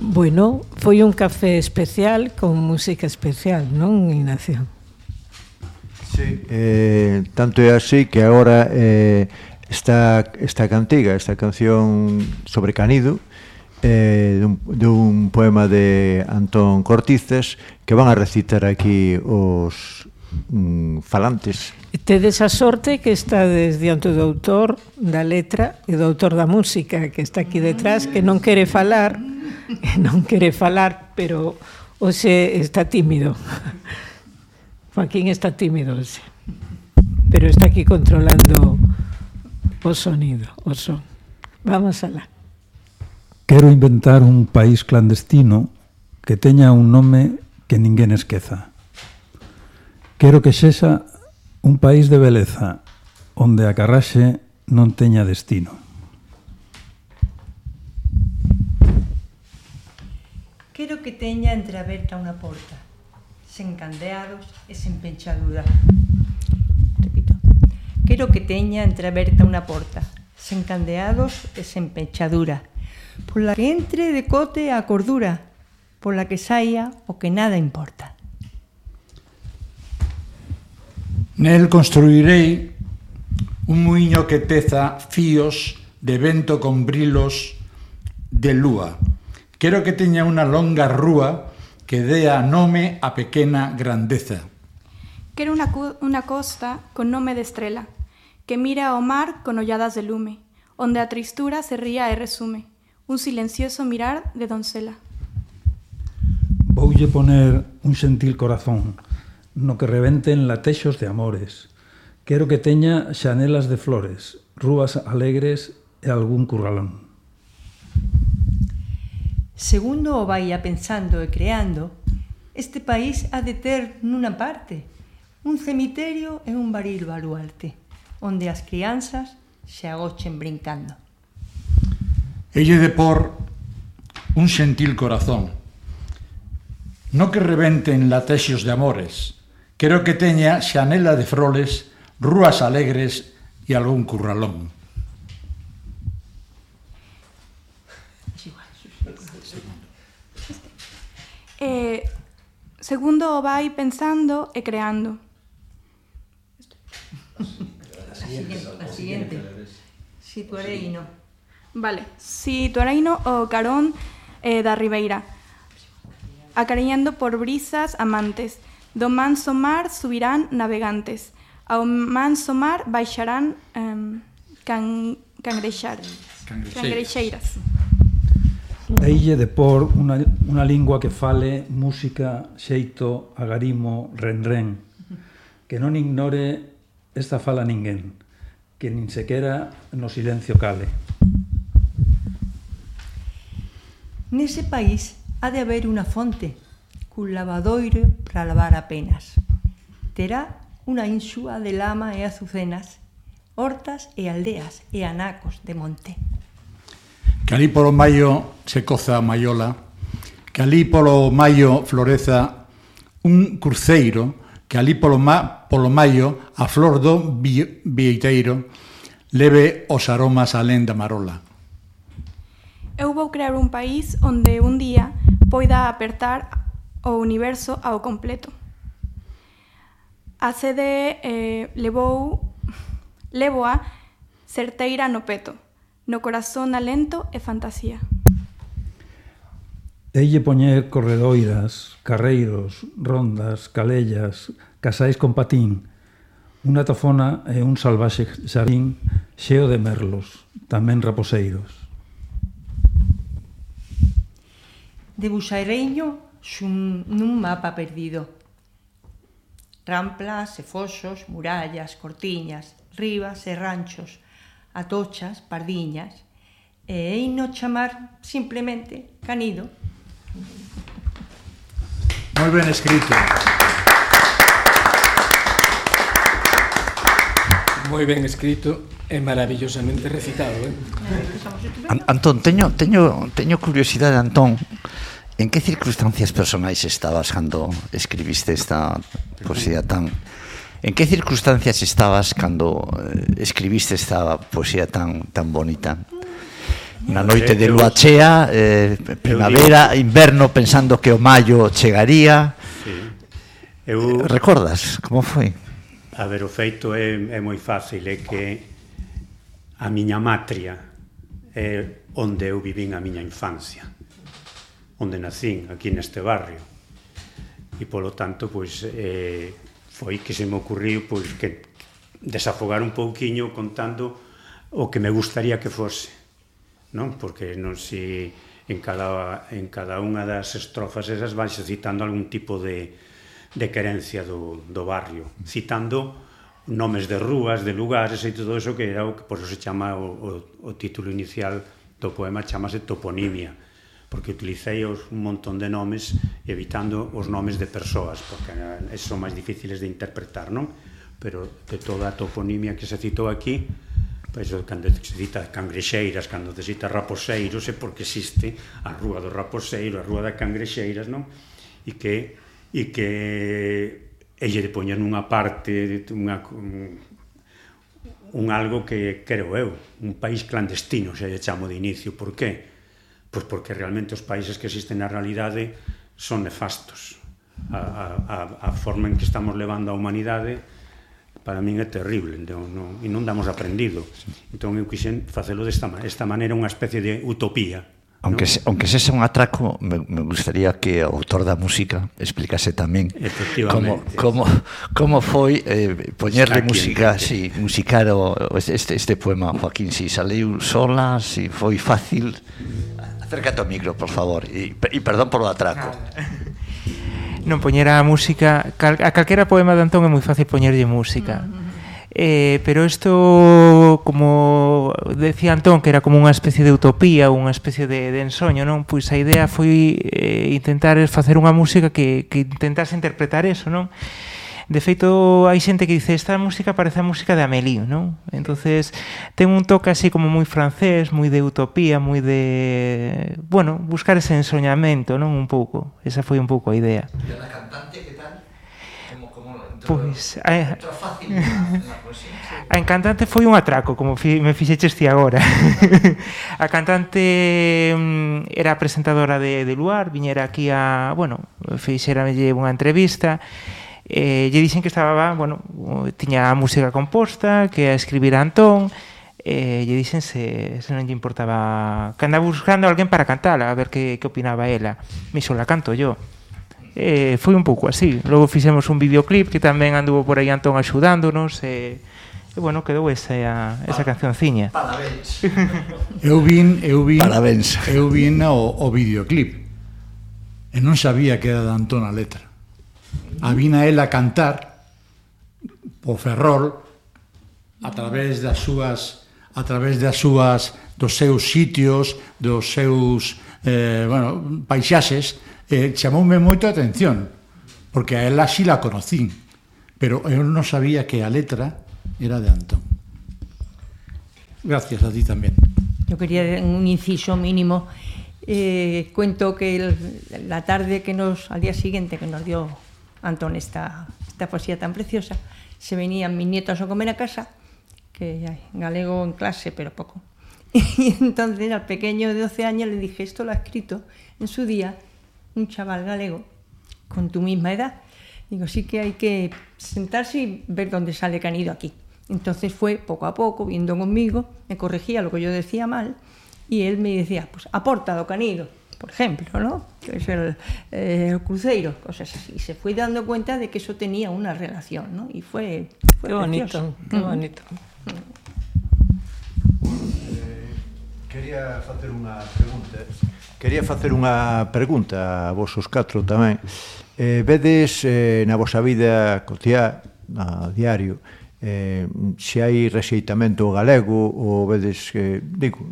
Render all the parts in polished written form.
Bueno, foi un café especial con música especial, non, Ignacio? Sí, tanto é así que agora esta cantiga, esta canción sobre Canido, dun poema de Antón Cortices, que van a recitar aquí os falantes. Tedes a sorte que estades diante do autor da letra e do autor da música, que está aquí detrás, que non quere falar, pero hoxe está tímido. Joaquín está tímido hoxe, pero está aquí controlando o sonido, o son. Vamos alá. Quero inventar un país clandestino que teña un nome que ninguén esqueza. Quero que sexa un país de beleza onde a carraxe non teña destino. Quero que teña entreaberta unha porta, sen candeados e sen penchadura. Repito. Quero que teña entreaberta unha porta, sen candeados e sen penchadura, pola que entre de cote a cordura, pola que saia o que nada importa. Nel construirei un muiño que teza fíos de vento con brilos de lúa. Quero que teña unha longa rúa que dea nome a pequena grandeza. Quero unha costa con nome de estrela, que mira ao mar con olladas de lume, onde a tristura se ría e resume, un silencioso mirar de doncela. Voulle poner un xentil corazón, no que rebenten latexos de amores. Quero que teña xanelas de flores, rúas alegres e algún curralón. Segundo o vai pensando e creando, este país ha de ter nunha parte un cemiterio e un baril baluarte, onde as crianzas se agochen brincando. Elle de por un xentil corazón, no que rebenten latexos de amores. Quero que teña xanela de froles, rúas alegres e algún curralón. Segundo o vai pensando e creando. A siguiente. Situareino. Vale, situareino o carón da ribeira, acariñando por brisas amantes. Do manso mar subirán navegantes, ao manso mar baixarán cangrexeiras. Deille de por unha lingua que fale música, xeito, agarimo, renren, que non ignore esta fala ninguén, que nin sequera no silencio cale. Nese país ha de haber unha fonte, cun lavadoiro para lavar apenas. Terá unha insúa de lama e azucenas, hortas e aldeas e anacos de monte. Que alí polo maio se coza a maiola, que alí polo maio floreza un cruceiro, que alí polo maio a flor do vieiteiro leve os aromas alén da marola. Eu vou crear un país onde un día poida apertar o universo ao completo. A sede levoa certeira no peto, no corazón alento e fantasía. Deille poñer corredoiras, carreiros, rondas, calellas, casais con patín, unha tofona e un salvaxe xardín xeo de merlos, tamén raposeiros. Debuxareiño nun mapa perdido. Ramplas e foxos, murallas, cortiñas, ribas e ranchos, atochas, pardiñas, e heino chamar simplemente Canido. Moi ben escrito. Moi ben escrito e maravillosamente recitado, Antón, teño curiosidade, Antón. En que circunstancias personais estabas cando escribiste esta poesía tan... En que circunstancias estabas cando escribiste esta poesía tan bonita? Na noite de lúa chea, primavera, inverno, pensando que o maio chegaría. Recordas como foi? A ver, o feito é moi fácil, é que a miña matria é onde eu vivín a miña infancia, onde nacín, aquí neste barrio, e polo tanto, pois, foi que se me ocurriu, pois, que desafogar un pouquiño contando o que me gustaría que fose, non? Porque non si en cada unha das estrofas esas vanse citando algún tipo de querencia do barrio, citando nomes de rúas, de lugares e todo eso, que era o que por eso se chama o título inicial do poema, chamase toponimia, porque utilicei un montón de nomes evitando os nomes de persoas, porque son máis difíciles de interpretar, non? Pero de toda a toponimia que se citou aquí, pois cando se cita Cangrexeiras, cando se cita Raposeiros, é porque existe a Rúa do Raposeiro, a Rúa das Cangrexeiras, non? E que lle poñen unha parte, un algo que creo eu, un país clandestino, se lle chamo de inicio. Por qué? Pois porque realmente os países que existen na realidade son nefastos. A forma en que estamos levando a humanidade para min é terrible, e non damos aprendido. Entón eu quixen facelo desta maneira, unha especie de utopía. Aunque sexa un atraco, me gustaría que o autor da música explicase tamén como foi poñerle música, musicar este poema, Joaquín, si saliu sola, si foi fácil. Acércate ao micro, por favor, e perdón polo atraco. Non, poñer a música, a calquera poema de Antón é moi fácil poñerlle música. Pero isto, como decía Antón, que era como unha especie de utopía, unha especie de ensoño, non? Pois a idea foi intentar facer unha música que intentase interpretar eso, non? De feito, hai xente que dice esta música parece a música de Amélie, non? Entonces, ten un toque así como moi francés, moi de utopía, moi de... Bueno, buscar ese ensoñamento, non? Un pouco. Esa foi un pouco a idea. E a cantante, que tal? Pois... A cantante foi un atraco, como me fixeches ti agora. A cantante era presentadora de Luar, viñera aquí a... Bueno, fixeramelle unha entrevista... lle dixen que estaba, bueno, tiña a música composta, que a escribir a Antón, lle dixen se non lle importaba, que andaba buscando a alguén para cantala, a ver que opinaba ela. Me só la canto yo. Foi un pouco así. Logo fixemos un videoclip que tamén anduvo por aí Antón axudándonos, e bueno, quedou esa cancionciña. Parabéns. Eu vin Parabéns. Eu vin o videoclip e non sabía que era de Antón a letra. A vina ela cantar o Ferrol a través dos seus sitios, dos seus paisaxes, chamoume moito a atención, porque a ela sí la conocín, pero eu non sabía que a letra era de Antón. Gracias a ti tamén. Yo quería un inciso mínimo. Cuento que la tarde al día siguiente que nos dio Antón esta poesía tan preciosa, se venían mis nietos a comer a casa, que hay galego en clase, pero poco. Y entonces al pequeño de 12 años le dije, esto lo ha escrito en su día un chaval galego con tu misma edad. Digo, sí que hay que sentarse y ver dónde sale Canido aquí. Entonces fue poco a poco, viendo conmigo, me corregía lo que yo decía mal, y él me decía, pues aporta do Canido, por ejemplo, ¿no? Que es el cruceiro, cosas así. Y se fue dando cuenta de que eso tenía una relación, ¿no? Y fue qué bonito, qué bonito. Quería facer unha pregunta a vos os catro tamén. Vedes na vosa vida cotiá, a diario, se hai rexeitamento galego ou vedes que, digo,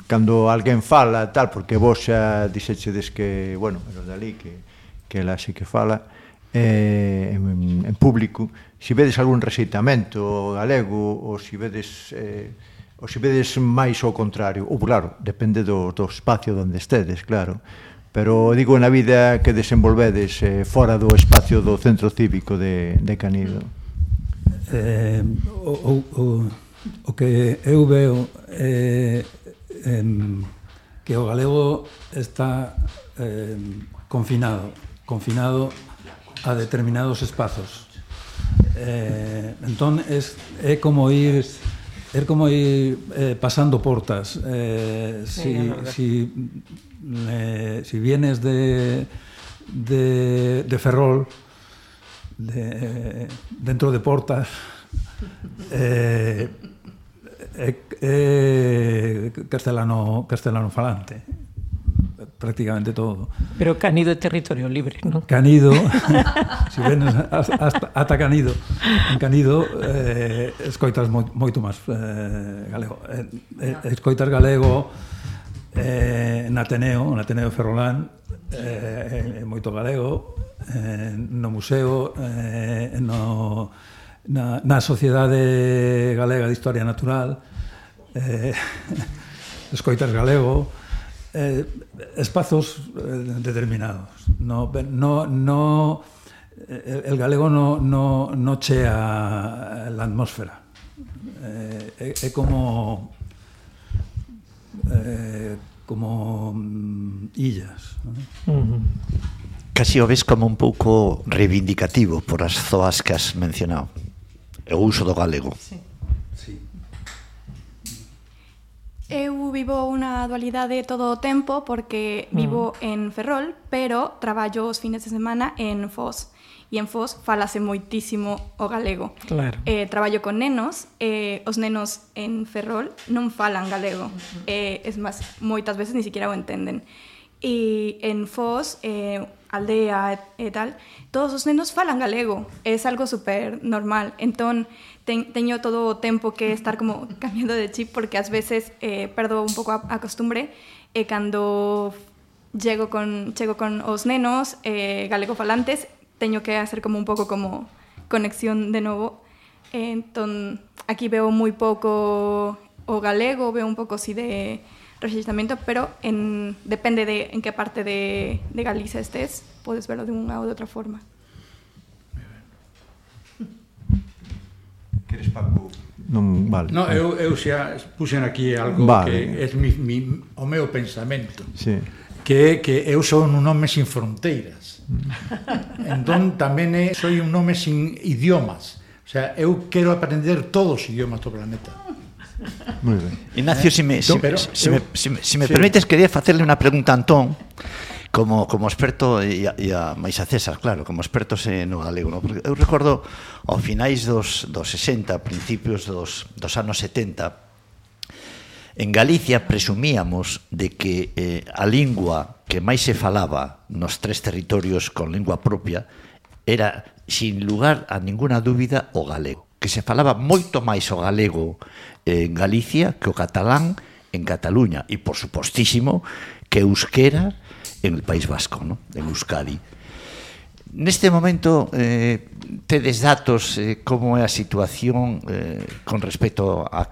cando alguén fala tal, porque vos xa dixechedes que, bueno, pero dali que ela sí que fala en público, se vedes algún rexeitamento galego ou se vedes máis ao contrario, ou claro, depende do espacio onde estedes, claro, pero digo na vida que desenvolvedes fora do espacio do centro cívico de Canido. O que eu veo que o galego está confinado a determinados espazos. Entón, é como ir pasando portas. Si vienes de Ferrol, dentro de portas, castellano falante, prácticamente todo. Pero Canido é territorio libre, non? Canido, si venes ata Canido, en Canido escoitas moito máis galego. Escoitas galego na Ateneo Ferrolán, moito galego, no museo, na Sociedade Galega de Historia Natural, escoitas galego, espazos determinados. El galego no chea la atmósfera. É como illas. Casi o ves como un pouco reivindicativo por as zoas que has mencionado. O uso do galego. Sí. Eu vivo unha dualidade todo o tempo porque vivo en Ferrol, pero traballo os fines de semana en Foz. E en Foz falase moitísimo o galego. Claro. Traballo con nenos, os nenos en Ferrol non falan galego. Es máis, moitas veces ni siquiera o entenden. E en Foz, aldea e tal, todos os nenos falan galego. É algo super normal. Entón, teño todo o tempo que estar como cambiando de chip porque ás veces perdo un pouco a costumbre e cando chego con os nenos galego falantes teño que hacer como un pouco como conexión de novo. Entón, aquí veo moi pouco o galego, veo un pouco así de rexeitamento, pero depende de en que parte de Galicia estés, podes verlo de unha ou de outra forma. Queres, Paco? Non, vale. No, eu xa puxen aquí algo que é o meu pensamento. Sí. Que eu son un home sin fronteiras. Entón tamén soy un home sin idiomas. O sea, eu quero aprender todos os idiomas do planeta. Muy ben. Ignacio, si me permites, quería facerle unha pregunta a Antón, como experto, e a máis a César, claro, como expertos no galego, no? Porque eu recordo ao finais dos 60, principios dos anos 70, en Galicia presumíamos de que a lingua que máis se falaba nos tres territorios con lingua propia era, sin lugar a ninguna dúbida, o galego. Que se falaba moito máis o galego en Galicia que o catalán en Cataluña e, por supostísimo, que euskera en el País Vasco, ¿no? En Euskadi. Neste momento tedes datos como é a situación con respecto a aquel